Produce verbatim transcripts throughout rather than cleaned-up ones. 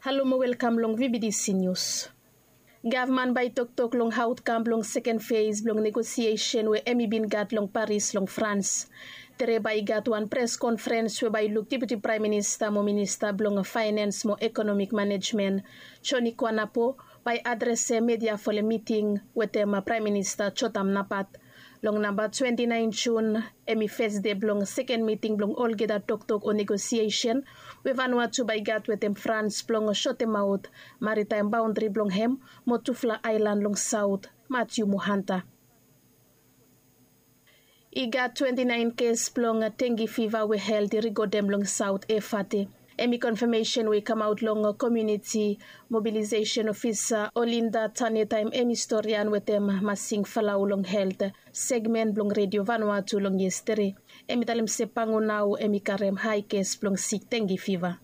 Halo mo welkam long V B D C News. Gavman bae i toktok long aotkam blong seken fes blong negosiesen we hem i bin gat long Paris long Frans. Tere bae i gat wan pres konfrens we bae i luk Deputi Praem Minista mo Minista blong Faenens mo Ekonomik Manejmen, Joni Kuanapo, bae i adresem media folem miting wetem Praem Minista Jotam Napat. Long namba twenti naen Jun, hem i fes dei blong seken miting blong olgeta toktok o negosiesen we Vanuatu bae i gat wetem Frans blong sotemaot maritaem baondri blong hem mo tufala aelan long saot, Matiu mo Hanta. I gat twenti naen kes blong tengi fiva we helt i rikodem long Saot Efate. Hem i konfamesen we i kamaot long komuniti mobilisesen ofisa Olinda Tane taem hem i storian wetem Masing Falau long helt segmen blong Redio Vanuatu long yestere. Hem i talem se Pango nao hem i karem hae kes blong sik tengi fiva.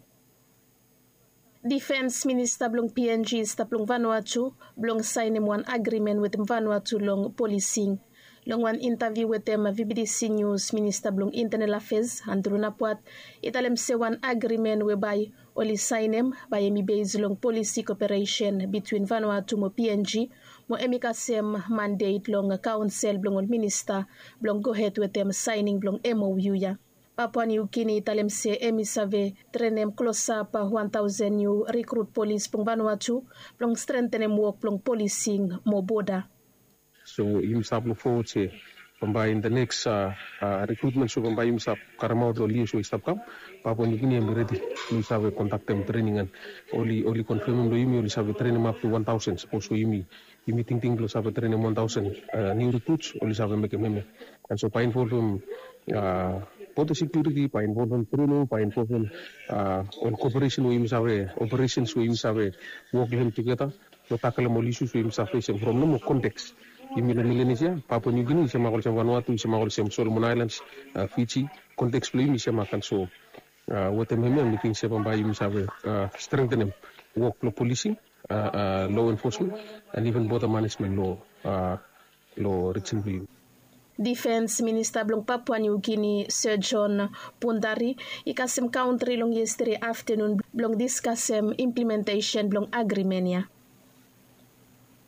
Difens minista blong P N G i stap long Vanuatu blong saenem wan agrimen wetem Vanuatu long polising. Long wan intaviu wetem V B D C News, minista blong Intenel Afes, Andru Napuat, i talem se wan agrimen we bae oli saenem bae hem i bes long polisi koperesen bitwin Vanuatu mo P N G, mo hem i kasem mandet long kaonsel blong ol minista blong gohed wetem saening blong M O U ya. Papua New Guinea i talem se hem i save trenem klosap wan taosen niu rikrut polis blong Vanuatu blong strentenem wok blong polising mo boda. So yumi stap luk fowod se bambae in the next rikrutmen so bambae yumi stap karemaot long lios we i stap kam. Papua New Guinea hem i redi blong i save kondaktem trening an oli oli konfemem long yumi oli save trenem ap tu wan taosen sapos we yumi yumi tingting blong save trenem wan taosen niu rikruts oli save mekem hemia. An so bae involvem boda sekiuriti, bae involvem trening, bae involvem ol koperesen we yumi save operesens we yumi save wok long hem tugeta blong takelem ol isus we yumi save fesem from nomo konteks. Yumi long Melanesia, Papua New Guinea i semak olsem Vanuatu, i semak olsem Solomon Aelans, Fiji. Konteks blong yumi i semak an so wetem hemia mi ting se bambae yumi save strentenem wok blong polising, lo enfosmen, an iven boda manesmen long long rijin blong yumi. Difens minista blong Papua New Guinea, Sir John Pundari, i kasem kaontri long yestere aftenun blong diskasem implementesen blong agrimen ya.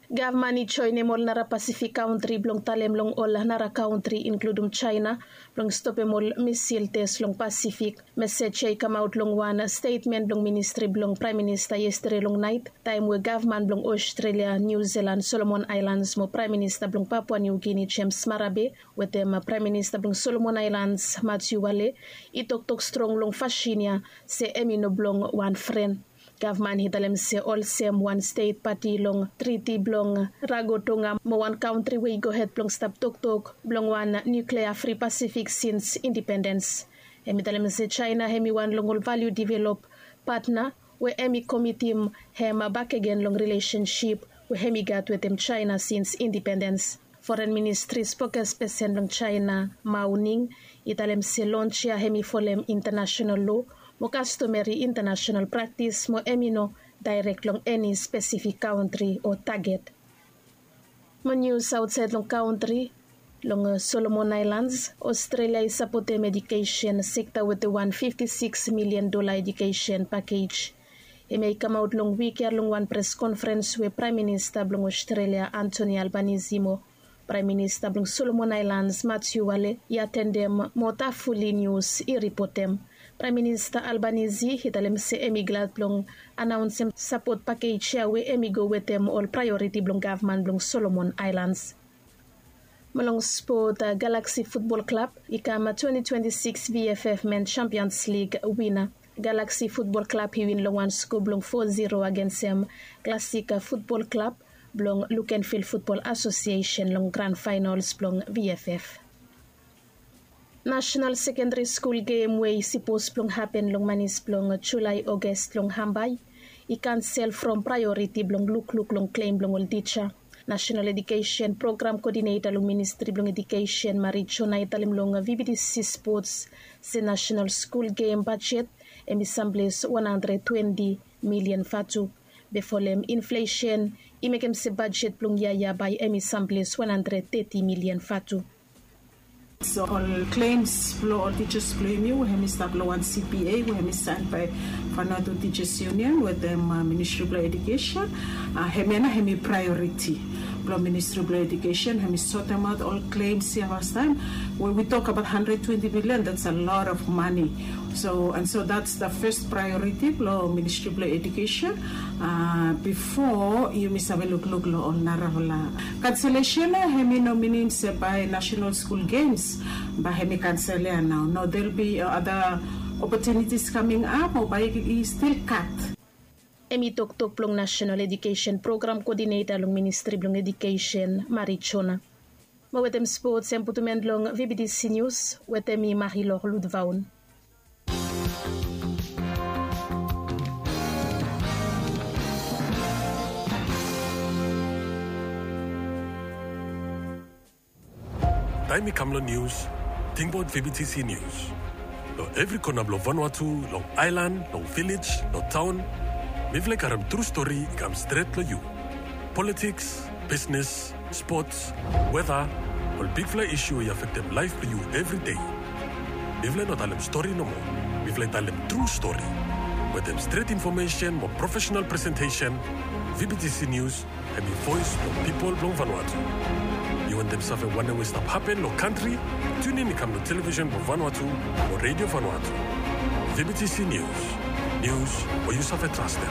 Gavman i joenem ol nara Pasifik kaontri blong talem long ol nara kaontri inkludum Jaena blong stopem ol misil tes long Pasifik. Mesej ya i kamaot long wan stetmen blong ministri blong Praem Minista yestere long naet taem we gavman blong Ostrelia, Niu Silan, Solomon Aelans mo Praem Minista blong Papua Niu Gini, Jems Marabe, wetem Praem Minista blong Solomon Aelans, Matiu Wale, i toktok strong long fasin ya se hem i no blong wan fren. Gavman i talem se olsem wan stet pati long triti blong Rarotonga mo wan kantri we i gohed blong stap toktok blong wan nuklea fri Pasifik sins indipendens. Hem i talem se Jaena hem i wan long ol valiu develop patna we hem i komitim hem bakegen long rilesensip we hem i gat wetem Jaena sins indipendens. Foren ministri spokespesen blong Jaena, Mao Ning, i talem se lons ya hem i folem intanasenal lo mo kastomeri intanasenal praktis mo hem i no daerek long eni spesifik kantri o taget. Mo nius aotsaed long kantri, long Solomon Aelans, Ostrelia i sapotem edukesen sekta wetem wan fifti sikis milian dola edukesen pakej. Hemia i kamaot long wik ya long wan pres konfrens we Praem Minista blong Ostrelia, Anthony Albanese, mo Praem Minista blong Solomon Aelans, Matiu Wale, i atendem mo Tafuli Nius i ripotem. Praem Minista Albanese i talem se hem i glad blong anaonsem sapot pakej ya we hem i go wetem ol praeoriti blong gavman blong Solomon Aelans. Mo long spot, Galaksi Futbol Klab i kam twenti twenti sikis V F F Men Champions League wina. Galaksi Futbol Klab i win long wan sko blong fo ziro agensem Klasika Futbol Klab blong Lukenvil Futbol Asosiesen long gran faenols blong V F F. Nasenal Sekendari Skul Gem we i sipos blong hapen long manis blong Julae Oges long Hambai i kansel from praeoriti blong lukluk long klem blong ol tija. Nasenal Edukesen Program Kodineta long Ministri blong Edukesen, Mari Jona, i talem long V B T C Spots se Nasenal Skul Gem bajet hem i samples wan handred twenti milian vatu. Be folem inflesen i mekem se bajet blong yia ya bae hem i samples wan handred teti milian vatu. So ol claims blong ol teachers blong yumi we hemi stap long wan C P A we hemi sign by Vanuatu Teachers Union wetem Ministry blong Education. Hemia nao hemi priority blong Ministry blong Education, hemi sortem aot ol claims ia fastaem. When we talk about hundred twenty million, that's a lot of money. So and so that's the first priority blong Ministry blong Education. Bifo yumi save lukluk long ol narafala cancellation ia, hemi no minim se bae National School Games bae hemi cancel ia nao. No, there'll be other opportunities coming up o bae i still kat. Hemi toktok blong National Education Program Coordinator long Ministry blong Education, Mari Jona. Mo wetem spots hem putum en long V B T C News wetem mi Marilor Ludvaun. Taem i kam long nius, tingbaot V B T C Nius. Long evri kona blong Vanuatu, long aelan, long vilej, long taon, mifala i karem tru stori i kam stret long yu. Politiks, bisnes, spots, weta, ol bigfala isu we i afektem laef blong yu evri dei. Mifala i no talem stori nomo, mifala i talem tru stori. Wetem stret infomesen mo profesenal presentesen, V B T C Nius hemi voes blong pipol blong Vanuatu. Yu wantem save wanem we i stap hapen long kantri? Tiunin i kam long televisen blong Vanuatu o redio Vanuatu. V B T C Nius, nius we yu save trastem.